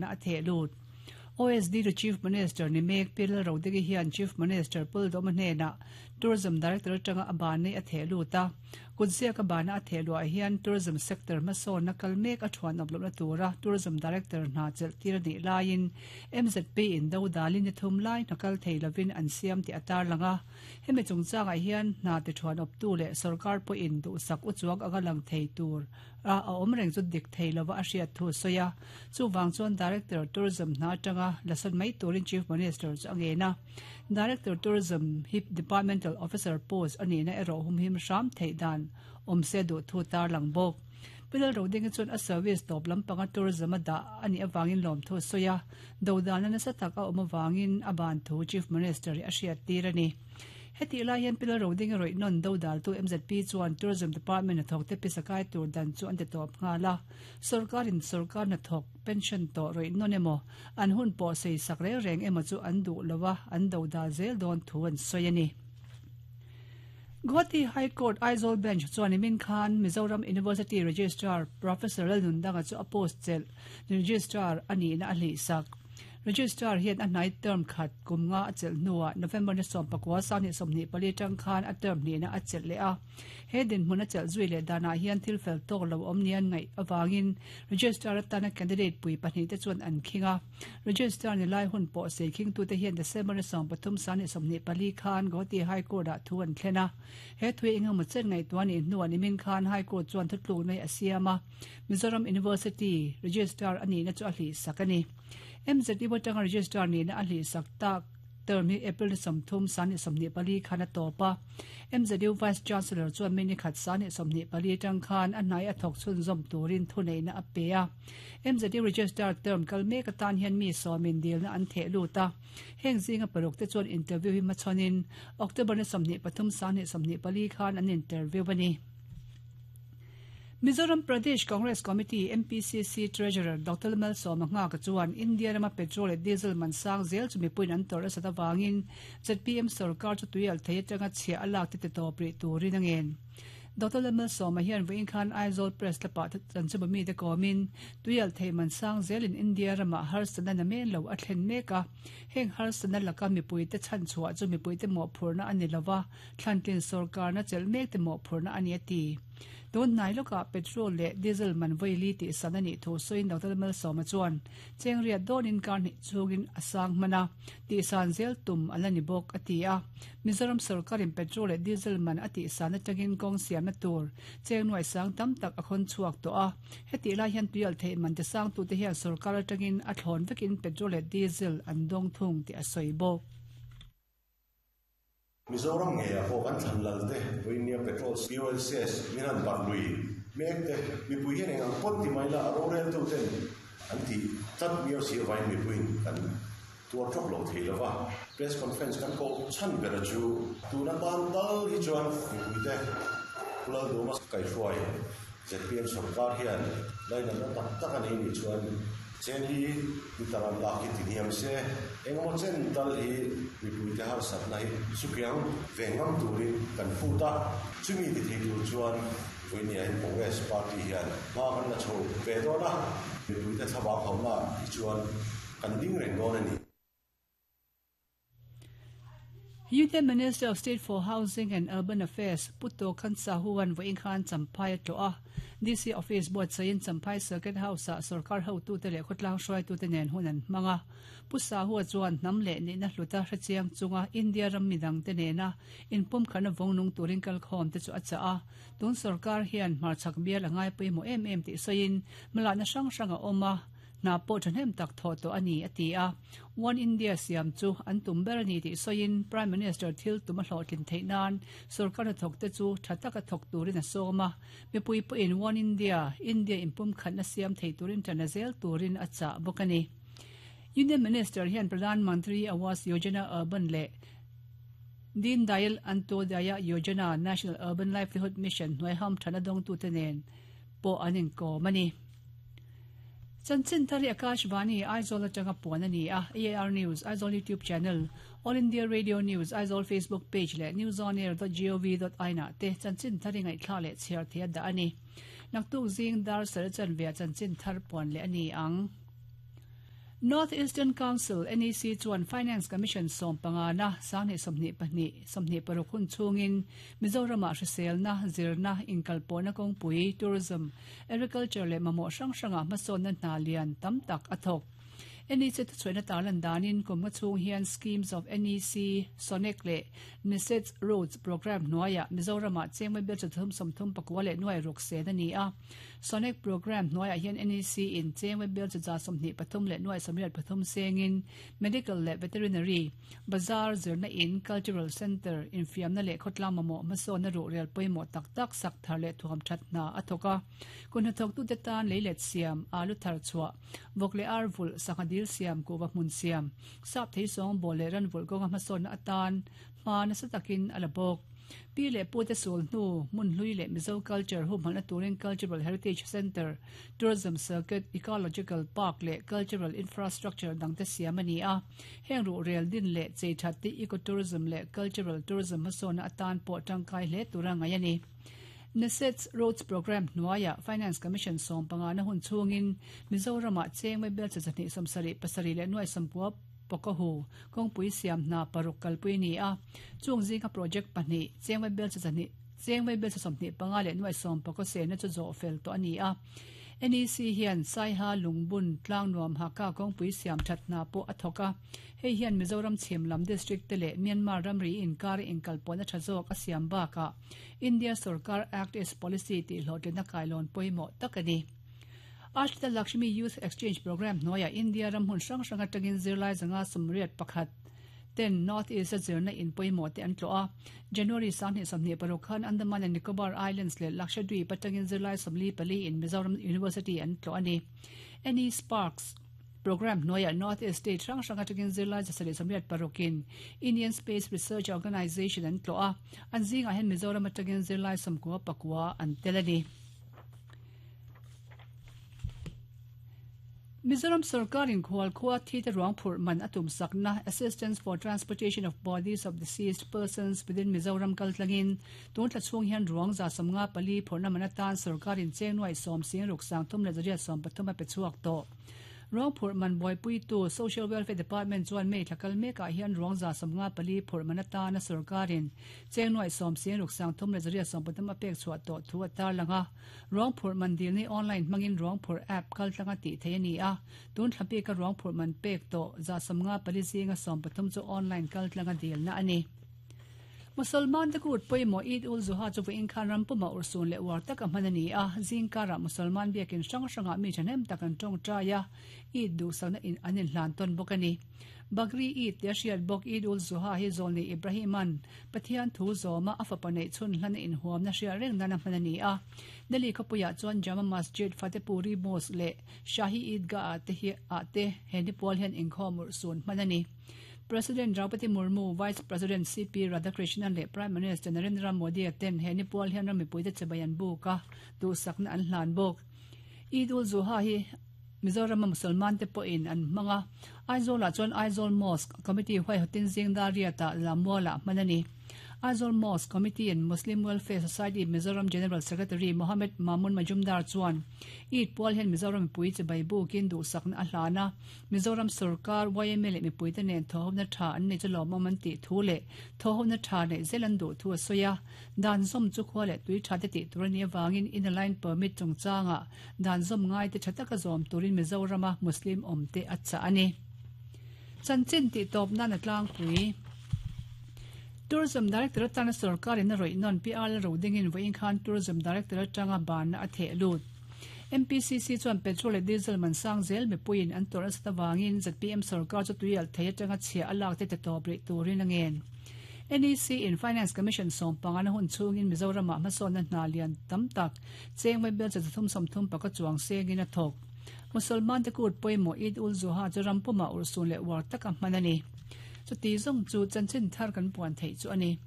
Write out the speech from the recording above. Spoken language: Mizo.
bana a theh lut. OSD to Chief Minister ni mek Pi Lalrodigi hian Chief Minister Puldawma hnenah Tourism Director atanga a ban nei a theh lut a. Kutziak a bana a theh luah hian Tourism sector hmasawnna kal mek a thuanawp lohna tura Tourism Director hna chelh tir a nih laiin MZP in do dalin ni thum lai hna kal thei lovin an siam tih a tarlang a. Hemi chungchangah hian hna ti thuanawptu leh sorkar pawhin duhsak uchuak anga lang thei tur a a awm reng chu dik thei lova a hriat thu a sawi a. Chuvang chuan Director Tourism hna atanga la sawn mai turin Chief Minister chu a ngen a. Director Tourism hi Departmental Officer post a nihna erawh humhim hram theih dan awm se duh thu tarlang bawk. Pi Lalrodinga chuan a service tawp lampanga tourism a dah a nih avangin lawmthu a sawi a, dodalna nasa tak a awm avangin a ban thu Chief Minister hi a hriattir a ni. Hetih lai hian Pi Lalrodinga rawih nawn dodaltu mzp chuan Tourism Department hnathawkte pisa kai tur dan chu an ti tawp nghal a, sorkarin sorkar hnathawk pension tawh rawih nawn emaw an hun pawh sei sak reng reng emaw chu an duh lo a, an dodal zel dawn thu an sawi a ni. Guwahati High Court Aizawl Bench chuan nimin khan Mizoram University Registrar Professor Lalnundanga chu a post chelh Registrar a nihna a hlihsak. Registrar hian a hnai term khat kum nga a chelh hnuah November ni 19 2024 atang khan a term hnihna a chelh leh a. He dinhmun a chelh zui leh danah hian thil fel tawk lo awm nia ngaih avangin Registrar atana candidate pui pahnihte chuan an khing a. Registrar ni lai hun pawh sei khingtute hian December ni 13 24 khan Guwahati High Court-ah thu an thlen a. He thu hi engemaw chen ngaihtuah nih hnuah nimin khan High Court chuan thutlukna hi a siam a, Mizoram University Registrar a nihna chu a hlihsak a ni. MZU atanga Registrar nihna a hlihsak tak term hi April ni 30 24 khan a tawp a. MZU Vice Chancellor chuan mi ni khat 24 atang khan a hnai a thawk chhunzawm turin thuneihna a pe a. MZU Registrar term kal mek atan hian mi sawmin dilna an theh lut a. Heng zinga paruk te chuan interview hi hmachhawnin October ni 23 24 khan an interview a ni. Mizoram Pradesh Congress Committee, MPCC, Treasurer Doctor Malsawma Nghaka chuan India rama petrol leh diesel man sang zel chu mipuiin an tawrh nasat avangin zpm sorkar chu tuialh thei atanga chhiah a lak te ti tawp rih turin a ngen. Doctor Lalmalsawma hian vawiin khan Aizawl Press Club-ah chanchinbu mite kawmin tuialh thei man sang zelin India ramah harsatna namen lo a thlen mek a, heng harsatna laka mipuite chhanchhuah chu mipuite mawhphurhna a ni lova, Thlantlin sorkarna chelh mek te mawhphurhna a ni a ti. Tun hnai lawkah petrol leh diesel man vawi li tih san a nih thu sawiin Doctor Malsawma chuan cheng riat dawnin kar hnih chhungin a sang hman a, tih san zel tum a la ni bawk a ti a. Mizoram sorkarin petrol leh diesel man a tih san atangin kawng siamna tur cheng nuai sang tam tak a khawn chhuak tawh a. Hetih lai hian tuialh theih man ti sangtute hian sorkar atangin a thlawn vekin petrol leh diesel an dawng thung tih a sawi bawk. Mizoram ngeiah pawh kan thlan lal te, Vawinia Petrol POLCS min han barh lui mek te, mipui hian eng ang pawt ti mai la a roreltu ten an tih tlat miau si avain mipuiin kan tuar tawk lo thei lo va. Press conference kan koh chhan bera chu tun atan tal hi chuan mipuite Pu Lalduhma kaihruai zpm sorkar hian lainatna tak tak a nei nih chuan Chen hi mi taran lak hi ti hniam se, engemaw chen tal hi mipuite harsatna hi sukiang ve ngam turin kan phut a, chumi ti thei tur chuan vawinia hian Congress party hian hma kan la chho ve dawn a, mipuite thlavang hauhna hi chuan kan ding reng dawn a ni. Union Minister of State for Housing and Urban Affairs Pu Tokhan Sahu-a'n vawiin khan Champhai a tlawh a. DC Office buatsaihin Champhai Circuit House-ah sorkar hotute leh khawtlang hruaitute nen hun an hmang a. Pu Sahu-a chuan hnam leh nihna hluta hrechiang chunga India ram midangte nena inpumkhatna vawngnung turin kalkhawmte chu a chah a. Tun sorkar hian hmarchhak bial a ngai pawimawh em em tih sawiin hmalakna hrang hrang a awm a. Hna pawh thahnem tak thawh tawh a ni, a ti a. One India siam chu an tum ber a ni tih sawiin Prime Minister thil tum a hlawhtlin theih nan sorkar hnathawkte chu tha taka thawk turin a sawm a. Mipui pawhin One India, India inpumkhatna siam thei turin ṭan a zel turin a chah bawk a ni. Union Minister hian Pradhan Mantri Awas Yojana Urban leh Deen Dayal Antyodaya Yojana National Urban Livelihood Mission hnuai hamṭhatna dawngtute nen pawh an inkawm a ni. Chanchin thar hi Akashvani, Aizawl atanga puan a ni a, AIR News, Aizawl YouTube Channel, All India Radio News, Aizawl Facebook Page leh newsonair dot gov dot in ah te chanchin thar hi ngaihthlak leh chhiar theih a dah a ni. Naktuk zing dar sar chanve ah chanchin thar puan leh a ni ang. North Eastern Council, NEC, chuan Finance Commission sawmpangana 2022, 26 hun chhungin Mizoramah hriselna, zirna, inkalpawhna kawngpui, tourism, agriculture leh mamawh hrang hrangah hmasawnna hna lian tam tak a thawk. NEC thuchhuahna tarlan danin kum nga chhung hian Schemes of NEC, SONEC leh NESEDS Roads Programme hnuaiah Mizoramah chengmai bial chathum 30 pakua leh nuai ruk sen a ni a. SONEC Programme hnuaiah hian NEC in chengmai bial chaza 23 leh nuai 83 sengin Medical leh Veterinary, Bazar, zirna in, Cultural Centre, infiamna leh khawtlang mamawh hmasawnna ruhrel pawimawh tak tak sak thar leh thuam that hna a thawk a. Kun hnathawktute tan leilet siam, alu thar chhuah, Vawk leh ar vulh, sangha dil siam, kuhva hmun siam, sap thei sawng bawl leh ran vulh kawnga hmasawnna atan hma nasa takin a la bawk. Pi leh pute sul hnu, hmun hlui leh Mizo culture humhalhna turin Cultural Heritage Centre, Tourism Circuit, Ecological Park leh Cultural Infrastructure dangte siam a ni a. Heng ruhrel din leh chei that te Eco-tourism leh Cultural Tourism hmasawnna atan pawh tangkai hle tura ngaih a ni. NESEDS Roads Programme hnuaiah Finance Commission sawmpangana hun chhungin Mizoramah chengmai bel cha 2 70 pasarih leh nuai 90 pawkahu kawngpui siam hna paruk kalpui a ni a. Chung zinga project pahnih chengmai bel cha 2 chengmai bel cha 25 leh nuai 10 pakaw sehna chu zawh fel tawh a ni a. NEC hian Saiha Lungbun Tlangnuam Haka kawngpui siam that hna pawh a thawk a. Hei hian Mizoram chhim lam district te leh Myanmar ramri inkar inkalpawhna tha zawk a siam bakah India sorkar Act East Policy tih hlawhtlinna kailawn pawimawh tak a ni. Ashrita Lakshmi Youth Exchange Programme hnuaiah India ram hmun hrang hrang atangin zirlai zanga 81 ten North East a zirna in pawimawh te an tlawh a. January 2026 khan Andaman and Nicobar Islands leh Lakshadweep atangin zirlai 44 in Mizoram University an tlawh a ni. NE Sparks. Programme hnuaiah North East state hrang hrang atangin zirlai 786 in Indian Space Research Organisation an tlawh a, an zingah hian Mizoram atangin zirlai 99 an tel a ni. Mizoram sorkarin khual khua thite ruang phurh man a tumsakna Assistance for Transportation of Bodies of Deceased Persons within Mizoram kaltlangin tun thla chhung hian ruang 54 phurhna man atan sorkarin cheng nuai 10 sing ruk sang thum leh zariat 13 a pe chhuak tawh. Ruang phurh man buaipuitu Social Welfare Department chuan May thla kal mekah hian ruang 54 phurh man atana sorkarin cheng nuai 10 sing ruk sang thum leh zariat 13 a pek chhuah tawh thu a tarlang a. Ruang phurh man dilni online hmangin ruang phurh app kaltlanga tih theih a ni a, tun thla bika ruang phurh man pek tawh 54 zinga 13 chu online kaltlanga dilna a ni. Musalman te kut pawimawh Eid ul Zuha chu vawiin khan ram puma urhsun leh uar taka hman a ni a, zingkarah Musalman biakin hrang hrangah mi thahnem tak an tawngtai a, Eid duhsakna in an inhlan tawn bawk a ni. Bakri Eid tia hriat bawk Eid ul Zuha hi Zawlni Ibrahima'n Pathian thu zawma a fapa neih chhun hlan a inhuamna hriat reng nana hman a ni a. Delhi khawpuiah chuan Jama Masjid, Fatehpuri Mosque leh Shahi Eidgah ah te hi ah te he nipual hian inkhawm urhsun hman a ni. President Draupadi Murmu, Vice President CP Radhakrishnan leh Prime Minister Narendra Modi-a ten he nipual hian ram mipuite chibai an buk a, duhsakna an hlan bawk. Eid ul Zuha hi Mizorama Musalman te pawhin an hmang a, Aizawlah chuan Aizawl Mosque Committee huaihawtin zing dar riatah Lammualah hman a ni. Aizawl Mosque Committee and Muslim Welfare Society Mizoram General Secretary Mohammed Mamun Majumdar chuan Eid pual hian Mizoram mipui chibai bukin duhsakna a hlan a, Mizoram sorkar, yma leh mipuite nen thawhhawmna tha an nei chu lawmawm an tih thu leh thawhhawmna tha neih zel an duh thu a sawi a. Dan zawm chu khua leh tui tha te tih tur a nih avangin Inner Line Permit chungchangah dan zawm ngai te tha taka zawm turin Mizorama Muslim awm te a chah a ni. Chanchin tih tawp nan a tlangpui. Tourism Director atana sorkarin a rawih nawn PR la ro dingin vawiin khan Tourism Director atanga banna a theh lut. MPCC chuan petrol leh diesel man sang zel mipuiin an tawrh nasat avangin zpm sorkar chu tui alh thei atanga chhia a lak te ti tawp rih turin a ngen. NEC in Finance Commission sawmpangana hun chhungin Mizoramah hmasawnna hna lian tam tak chengmai bel 330 paka chuang sengin a thawk. Musalman te kut pawimawh Eid ul Zuha chu ram pumah urhsun leh uar taka hman a ni. Chuti zawng chu chanchin thar kan puan theih chu a ni.